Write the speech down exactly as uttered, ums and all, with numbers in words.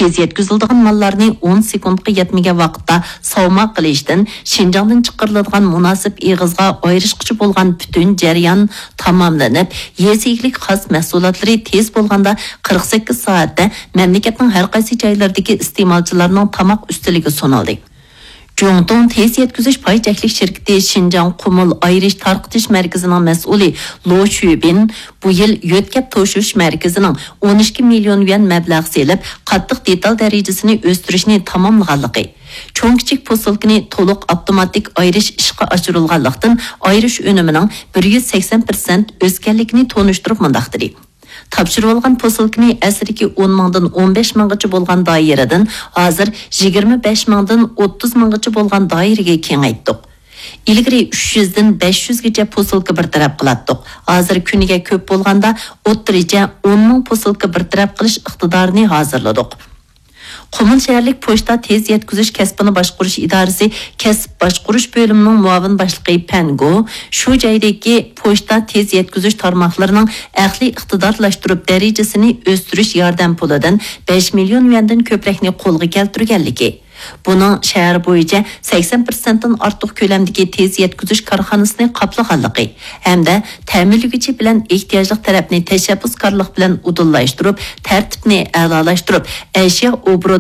تېز يەتكۈزۈلىدىغان ماللارنى ئون سېكۇنتقا يەتمىگەن ۋاقىتتا ساۋما قىلىشتىن، شىنجاڭدىن چىقىرىلىدىغان مۇناسىپ ئېغىزغا ئايرىشقىچە بولغان پۈتۈن جەريان تاماملىنىپ، يېزا ئىگىلىك خاس مەھسۇلاتلىرى تېز بولغاندا قىرىق سەككىز سائەتتە مەملىكەتنىڭ ھەر قايسى جايلىرىدىكى ئىستېمالچىلارنىڭ تاماق ئۈستىلىگە سۇنۇلدى. جۇڭتۇڭ تېز يەتكۈزۈش پاي چەكلىك شىركىتى شىنجاڭ قۇمۇل ئايرىش تارقىتىش مەركىزىنىڭ مەسئۇلى لو شۈبىن بۇ يىل يۆتكەپ توشۇش مەركىزىنىڭ ئون ئىككى مىليون يۈەن مەبلەغ سېلىپ، قاتتىق دېتال دەرىجىسىنى ئۆستۈرۈشنى تاماملىغانلىقى، چوڭ كىچىك پوسۇلكىنى تولۇق ئاپتوماتىك ئايرىش ئىشقا ئاشۇرۇلغانلىقتىن، ئايرىش ئۈنۈمىنىڭ بىر يۈز سەكسەن پىرسەنت ئۆسكەنلىكىنى تونۇشتۇرۇپ مۇنداق دېدى: تاپشۇرۇۋالغان پوسۇلكىنى ئەسلىدىكى ئون مىڭدىن ئون بەش مىڭغىچە بولغان دائىرىدىن ھازىر يىگىرمە بەش مىڭدىن ئوتتۇز مىڭغىچە بولغان دائىرىگە كېڭەيتتۇق. ئىلگىرى ئۈچ يۈزدىن بەش يۈزگىچە پوسۇلكا بىر تەرەپ قىلاتتۇق. ھازىر كۈنىگە كۆپ بولغاندا ئوتتۇرىچە ئون مىڭ پوسۇلكا بىر تەرەپ قىلىش ئىقتىدارىنى ھازىرلىدۇق. قۇمۇل شەھەرلىك پوچتا تېز يەتكۈزۈش كەسپىنى باشقۇرۇش ئىدارىسى كەسىپ باشقۇرۇش بۆلۈمىنىڭ مۇئاۋىن باشلىقى پەن گو شۇ جايدىكى پوچتا تېز يەتكۈزۈش تارماقلىرىنىڭ ئەقلىي ئىقتىدارلاشتۇرۇپ دەرىجىسىنى ئۆستۈرۈش ياردەم پۇلىدىن بەش مىليون يۈەندىن كۆپرەكنى قولغا كەلتۈرگەنلىكى، بۇنىڭ شەھەر بويىچە سەكسەن پىرسەنتتىن ئارتۇق كۆلەمدىكى تېز يەتكۈزۈش كارخانىسىنى قاپلىغانلىقى ھەمدە تەمىنلىگۈچى بىلەن ئېھتىياجلىق تەرەپنى تەشەببۇسكارلىق بىلەن ئۇدۇللاشتۇرۇپ، تەرتىپنى ئەلالاشتۇرۇپ، ئەشيا ئوبوروتى